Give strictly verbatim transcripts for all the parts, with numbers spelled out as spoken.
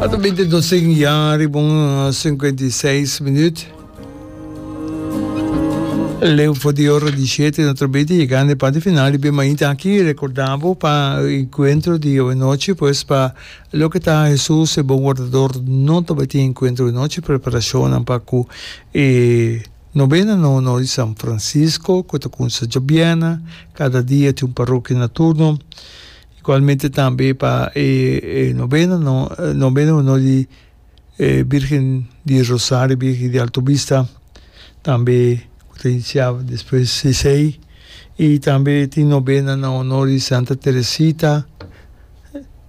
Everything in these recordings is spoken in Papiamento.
Ata binti dos ya riba un sinkuenta i seis minüt. Leu for di ora di shete no ta bini yegando e parti final di Bemainta aki. Recorda bo pa encuentro di anochi, pues pa loke ta Jesus e Bon Wardador no ta bay tin encuentro anochi. Preparacionnan pa cu e novena na honor di San Francisco cu ta cuminsa djabièrnè, cada dia tin un parokia na turno. Igualmente tambe pa e novena novena honor di e Birgen di Rosario, Birgen di Alto Vista, tambe ku ta inisiá despues di esei. I tambe tin nobena na honor di Santa Teresita,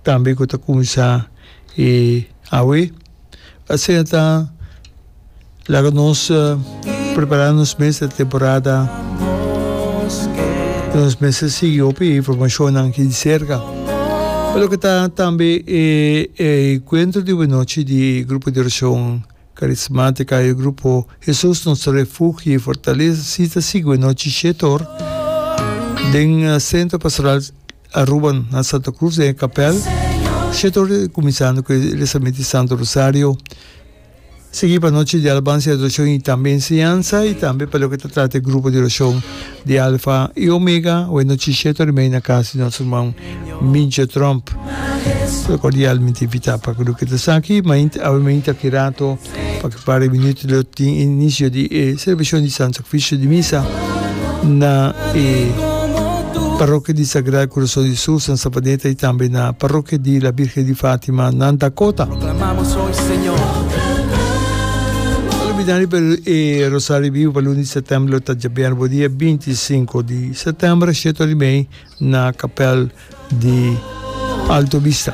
tambe ku ta kuminsá e awe. Asina ta laga nos prepará nos mes e temporada. Nos mester sigui hopi e informashonnan aki di serka. Pa loke ta tambe e enkuentro di wenochi di Grupo di Orashon Karismátika i Grupo Hesus Nos Refugio i Fortalesa si ta sigui wenochi shete or den Sentro Pastoral Aruba na Santa Cruz den e kapèl. Shete or kuminsando ku e rezamento di Santo Rosario. Sigui pa nochi di alabansa i adorashon i tambe enseñansa i tambe pa loke ta trata e grupo di orashon di Alfa i Omega awe nochi shete ora i mei na kas di nos ruman Mincho Tromp. Ta kordialmente invitá pa loke ta esaki. Mainta awe mainta aki rato pa ki par di minuto lo tin inicio di e selebrashon di Santo Sakrifisio di Misa na e Parokia di Sagrado Corazon di Jesus na Savaneta i tambe na Parokia di La Virgen di Fatima na Dakota. No olbida riba e Rosario Bibu pa luna di sètèmber lo ta djabièrnè bo dia binti i sinku di sètèmber shete ora i mei na Kapèl di Alto Vista.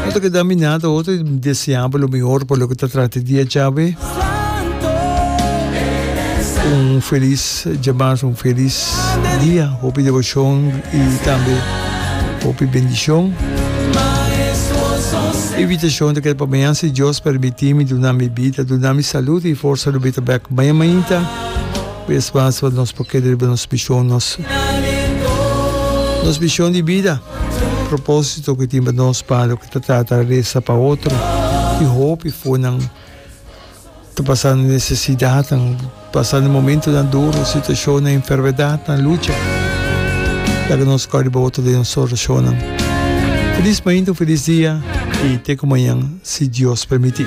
No ta keda mi nada otro i deseá bo lo mihor pa loke ta trata e dia djawe. Un felis djamas, un felis dia, hopi deboshon i tambe hopi bendishon. Invitashon ta keda pa mañan si Dios permití mi duna mi bida, duna mi salud i forsa lo mi ta bek mañan mainta. Bes mas pa nos por keda riba nos mishon, nos nos mishon di bida, propósito ku tin pa nos pa loke ta trata resa pa otro i hopi fonan. Ta pasando nesesidatnan, pasando momentunan duro, situashonnan, enfermedatnan, lucha. Laga nos kòrda riba otro den nos orashonnan. Felis mainta, un felis dia i te ku mañan si Dios permití.